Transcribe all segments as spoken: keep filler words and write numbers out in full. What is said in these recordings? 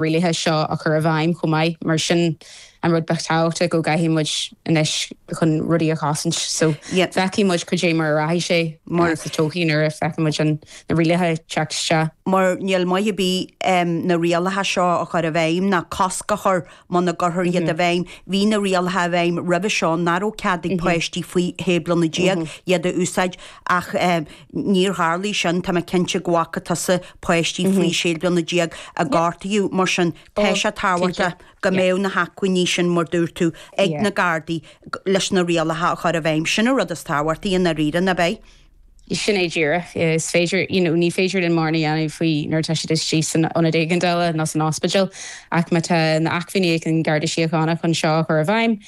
rialacha seo a chur i bhfeidhm chomh maith mar sin an rud betáachta go gcaithfidh muid anois chun rudaí a chosaint so feicfidh muid cad é mar a rachaidh sé mar sa todhchaí nuair a feicfidh muid an na rialacha teacht isteach. Mar níl maith ar bith na rialacha seo a chur i bhfeidhm ná cosc a chur muna gcuirfear iad i bhfeidhm. Bhí na rialacha i bhfeidhm roimhe seo nach raibh cead ag páistí faoi shé bliana déag iad a úsáid ach níor tharlaigh sin tá mé cinnte go bhfaca tusa páistí faoi sé bliana déag a gortaíodh mar sin tá sé tábhachtach go mbeadh na hacmhainní sin mar dúirt tú ag na Gardaí leis na rialacha a chur i bhfeidhm. Sin an rud is tábhachtaí i ndáiríre nach ea? Sin é díreach is féidir you know, ní féidir linn mórán a dhéanamh faoi nuair atá siad istigh san ionad éigeandála nó san ospidéal ach má tá na acmhainní ag an Garda Síochána chun seo a chur i bhfeidhm,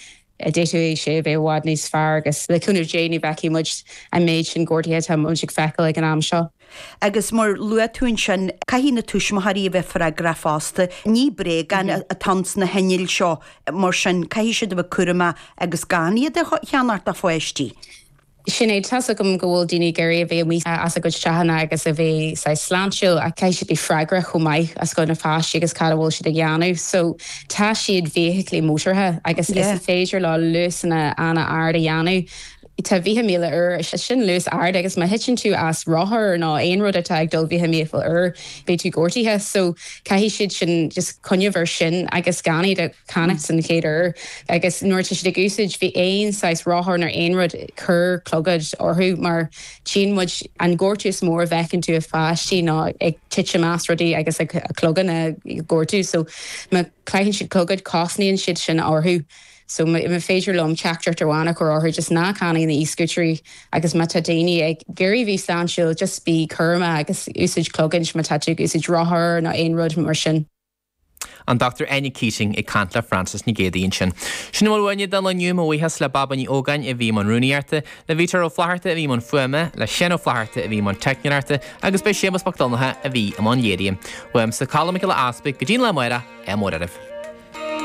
d'fhéadfadh sé a bheith i bhfad níos fearr agus le cúnamh Dé ní bhfeicfidh muid an méid sin gortuithe atá muid ag feiceáil ag an am seo. Agus mar luaigh tú ansin caithfidh na tuismitheoirí a bheith freagrach fosta. Ní bréagáin atá sna hinnill seo mar sin caithfidh siad a bheith cúramach agus gan iad a cheannacht do pháistí. Sin é tá agam go bhfuil daoine ag iarraidh a bheith amuigh as a gcuid teanna agus a bheith sa sláintiúil a caithfidh siad bheith freagrach chomh maith as go na páistí agus cad a bhfuil siad ag déanamh. So tá siad feithiclí mótartha agus yeah. is féidir leo luasanna an-ard a dhéanamh. Tá fiche míle uair sin luas ard agus má thiteann tú as rothar nó aon rud atá ag dul fiche míle uair beidh tú gortaithe, so caithfidh siad sin just cuimhneamh ar sin agus gan iad a cheannach san chéad uair agus nuair tá siad ag úsáid bhí aon saghas rothar nó aon rud cuir clogad orthu mar tchíonn muid an gortú is mór a bhfeiceann tú i pháistí ná ag titim as rudaí agus ag a cloigeann a gortú so má chaitheann siad clogad cosnaíonn siad sin orthu. So má féidir liom teachtaireacht amháin a chur orthu just ná ceannaigh na e-scooters agus má tá daoine ag iarraidh bheith sláintiúil just bí cúramach agus úsáid clogaid má tá tú ag úsáid rothar nó aon rud mar sin. An Dr Áine Keating ag caint le Francis Ní Ghéadaí ansin. Sin a bhfuil uainne don lá inniu mo bhuíochas le Baba Ní Ógáin a bhí i mbun rúnaíochta, le Vítor Ó Flatharta a bhí i mbun fuaime, le Seán Ó Flatharta a bhí i mbun teicneoireachta agus b'é Séamus Mac Donncha a bhí i mbun léirithe. Uaimse Colm Mac Giolla Easpaig go dtí an lá amárach, ádh mór oraibh.